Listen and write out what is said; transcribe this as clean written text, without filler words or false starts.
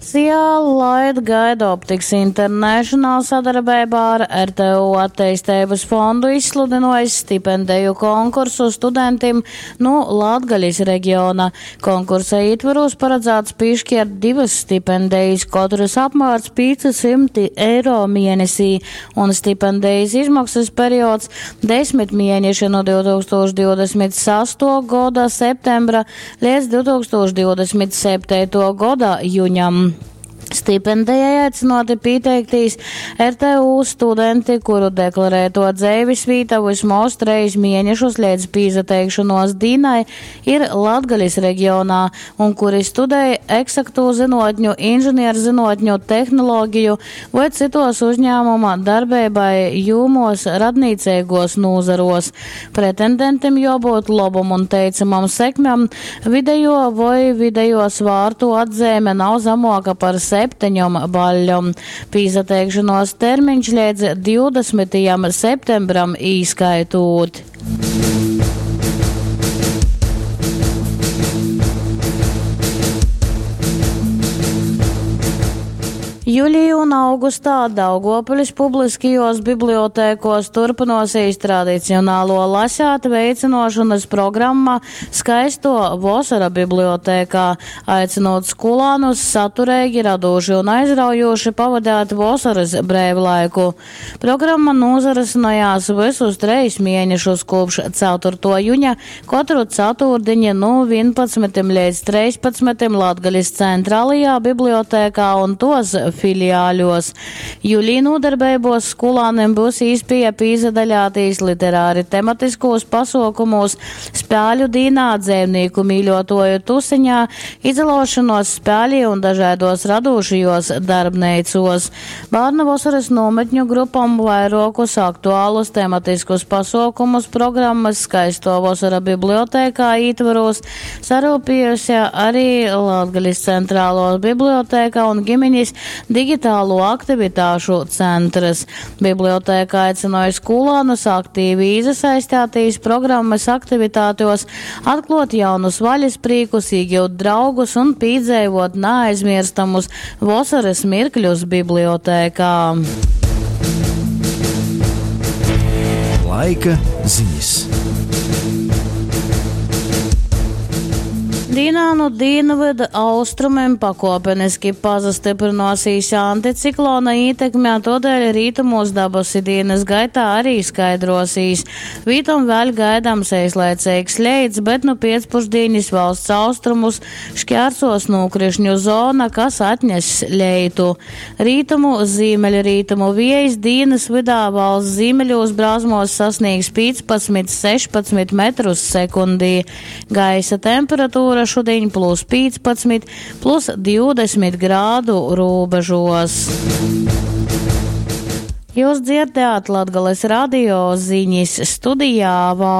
Fundacijā Light Guide Optics International sadarbeibā ar RTU Atteisteibys fondu izsludynuojs stipendeju konkursu studentim nu Latgalis regiona. Konkursa ītvorūs paradzāts pīškiert divys stipendejis, kotrys apmārs 500 eiro mienesī, un stipendejis izmoksys periods desmit mieneši nu 2026. goda septembra leidz 2027. goda juņam. Stipendejai aicynuoti pīteiktīs RTU studenti, kuru deklarētuo dzeivisvīta vysmoz trejis mienešus leidz pīsateikšonuos dīnai ir Latgalis regionā un kuri studej eksaktū zynuotņu, inženierzynuotņu, tehnologiju voi cytuos uzņāmuma darbeibai jūmuos radnīceiguos nūzaruos. Pretendentim juobyut lobom un teicamom sekmem, videjuo voi videjuo svārtu atzeime nav zamuoka par septeņom baļļom. Pīsateikšonuos termiņš leidz 20. septembram īskaitūt. Julī un augustā Daugovpilis publiskajuos bibliotekuos turpynuosīs tradicionaluo lasēt veicynuošonys programma Skaistuo vosora bibliotēkā, aicynūt skolānus satureigi, radūši un aizraujūši pavadeit vosorys breivlaiku. Programma nūsarysynojās vysus trejis mienešus kūpš 4. juņa kotru catūrdiņi nu 11 leidz 13 Latgalis Centralajā bibliotēkā un tuos filiāļos. Julī nūdarbeibuos skolānim byus īspieja pīsadaļātīs literāri tematiskūs pasuokumūs, spēļu dīnā, dzeivnīku mīļuotuoju tuseņā, izalaušanuos spēlī un dažaiduos radūšajuos darbneicuos. Bārnu vosorys nūmetņu grupom vairuokus aktualus tematiskus pasuokumus programmys Skaistuo vosora bibliotēkā ītvorūs saryupiejuse ari Latgalis Centraluo biblioteka un giminis digitālo aktivitāšu centrs. Biblioteka aicynoj skūlānus aktīvi īsasaistētīs programmys aktivitātuos, atkluot jaunus vaļasprīkus, īgiut draugus un pīdzeivuot naaizmierstamus vosorys mirkļus bibliotēkā. Laika zinis. Dīnā nu dīnvydu austrumim pakuopeniski pasastyprynuosīs anticiklona ītekme, tuodēļ rītumūs dabasi dīnys gaitā arī skaidruosīs. Vītom vēļ gaidams eislaiceigs leits, bet nu piecpušdīnis valsts austrumus šķērsos nūkrišņu zona, kas atness leitu. Rītumu, zīmeļrītumu viejs dīnys vydā valsts zīmeļūs brāzmuos sasnīgs 15-16 metrus sekundī. Gaisa temperatūra šudiņ plus 15, plus 20 grādu rūbežos. Jūs dzirdējāt Latgales radio ziņas studijā Val.